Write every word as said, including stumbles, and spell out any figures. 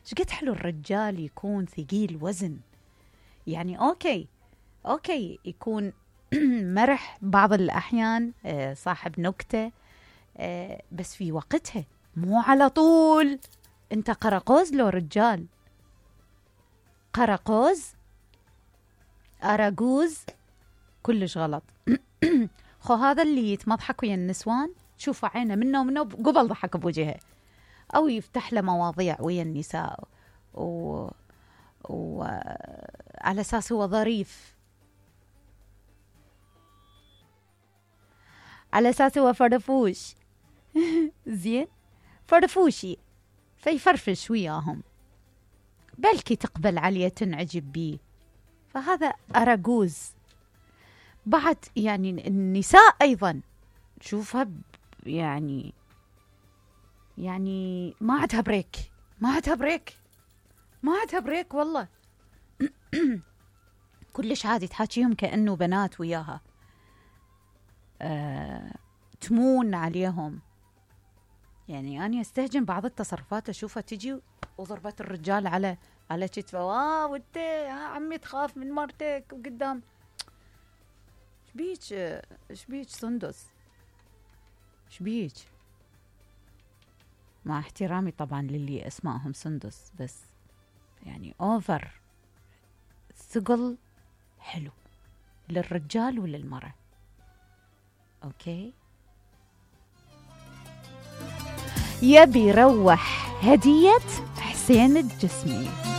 شقد حلو الرجال يكون ثقيل وزن. يعني أوكي أوكي يكون مرح بعض الأحيان، صاحب نكتة، بس في وقتها، مو على طول. أنت قرقوز لو رجال؟ قرقوز أراجوز كلش غلط. خو هذا اللي يتمضحك ويا النسوان، شوفوا عينه منه ومنه قبل ضحك بوجهه، أو يفتح له مواضيع ويا النساء و... و... على أساس هو ظريف، على أساس هو فرفوش. زين، فرفوشي، فيفرفش وياهم، بلكي تقبل عليه تنعجب بيه. فهذا أراجوز. بعد يعني النساء أيضا شوفها يعني يعني ما عندها بريك، ما عندها بريك، ما عندها بريك والله. كلش عادي تحاكيهم كأنه بنات وياها، أه تمون عليهم. يعني أنا استهجن بعض التصرفات أشوفها تجي وضربت الرجال على على كتفه، واه وانت يا عمي تخاف من مرتك وقدام. شبيك شبيك سندس، شبيك؟ مع احترامي طبعا للي اسمائهم سندس، بس يعني اوفر ثقل حلو للرجال وللمرأة. اوكي، يبي يروح هدية حسين الجسمي.